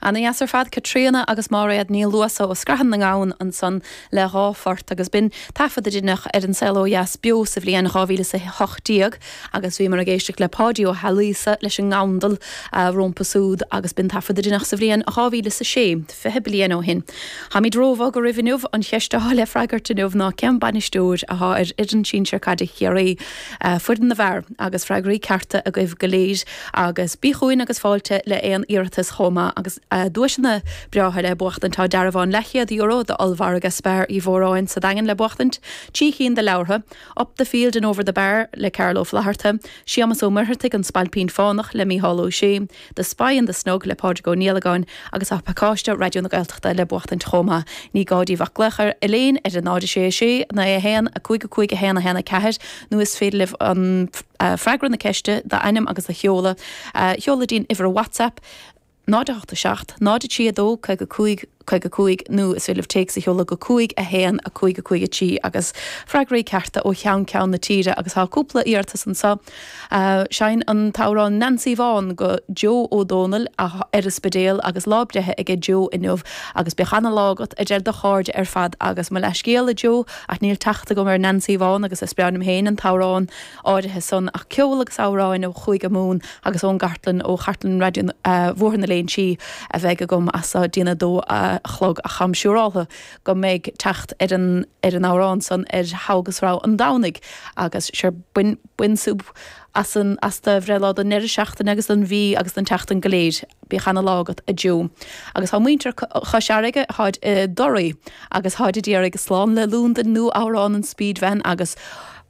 Ana dheas ar fad, Caitríona agus Máiréad Ní Luasa ó Scrathan na nGamhan ansan le dha phort agus b'in taifead a deineadh ar An Saol Ó Dheas beo sa bhliain 2018 agus bhíomar ag éisteacht le Páidí Ó hAilíosa leis an ngandal rómpa súd agus b'in taifead a deineadh sa bhliain 2006, 20 bliain ó shin. Táimid róbhog oraibh inniu, an cheist atá le freagairt inniu ná cén bainisteoir atá ar fhoireann sinsir caide Chiarraí, foireann na bhfear, agus freagraí cearta agaibh go léir. Agus bí chugainn agus fáilte le aon iarratas chomh maith agus duaiseanna breátha le buachtaint. Tá dearbhán leathchéad euro d'ollmhargadh Spar Uí Mhóráin sa Daingean le buachtaint, 3 chinn de leabhartha, Up the Field and Over the Bar le Carl Ó Flaithearta, Séamas Ó Muircheartaigh, An Spailpín Fánach le Mícheál Ó Sé, The Spy in the Snug le Pádraig Ó Niallagáin agus tá pacáiste Raidió na Gaeltachta le buachtaint chomh maith. Ní gá daoibh ach glaoch ar Elaine ar 0 6 6 9 1 5 5 1 1 4 nó is féidir libh an freagra na ceiste, d'ainm agus do sheoladh, a sheoladh dtí'n uimhir WhatsApp, 0 8 7 0 3 2 55 55 nó is féidir libh téacs a sheoladh go 5 1 5 5 3 agus freagraí cearta ó cheann ceann na tíre agus tá cúpla iarratas anseo. Seinn an t-amhrán Nancy Bhán go Joe Ó Dónaill ar an Spidéal agus lá breithe aige Joe inniu agus bíodh ana-lá agat a deir do chairde ar fad agus mo leathscéal a Joe ach níl teacht agam ar Nancy Bhán agus is breá liom féin an t-amhrán áirithe san ach ceol agus amhráin ó Chúige Mumhan agus ón gcartlann, ó chartlann Raidió Bhóthar na Léinsí a bheidh agam as so dtí'n 2 a chlog ach táim siúráltha go mbeidh teacht ar an ar an amhrán san ar Thogha agus Rogha an Domhnaigh agus sure bain bain súp as an as do bhreithlá don ndeireadh seachtaine agus don mhí agus don tseachtain go léir. Bíodh ana lá agat a Joe. Agus tá muintir Chois Fharraige, tháid i dToraí agus tháid a d'iarraidh slán le Londain nó amhrán an Speedvan agus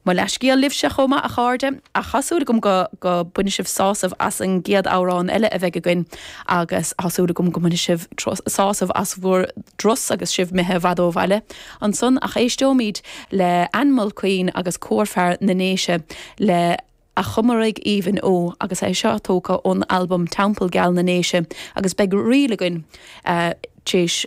mo leathscéal libhse chomh maith a chairde, ach tá súil agam go go bainfidh sibh sásamh as an gcéad amhrán eile a bheidh againn agus tá súil agam go mbainfidh sibh sásamh as bhur dturas agus sibh imithe i bhfad ó bhaile ansan ach éisteoimid le Ann Mulqueen agus Cór Fear na nDéise le A Chomaraigh Aoibhinn Ó agus é seo tógtha ón albam Teampall Geal na nDéise agus beidh ríl againn t'éis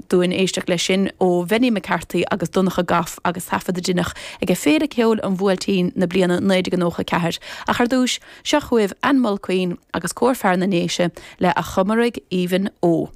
dúinn éisteacht leis sin ó Bhenny McCarthy agus Donncha Goff agus taifead a deineadh aige Féile Ceoil an Bhuailtín na bliana 1994. Ach ar dtúis, seo chugaibh Ann Mulqueen agus Cór Fear na nDéise le A Chomaraigh Aoibhinn Ó.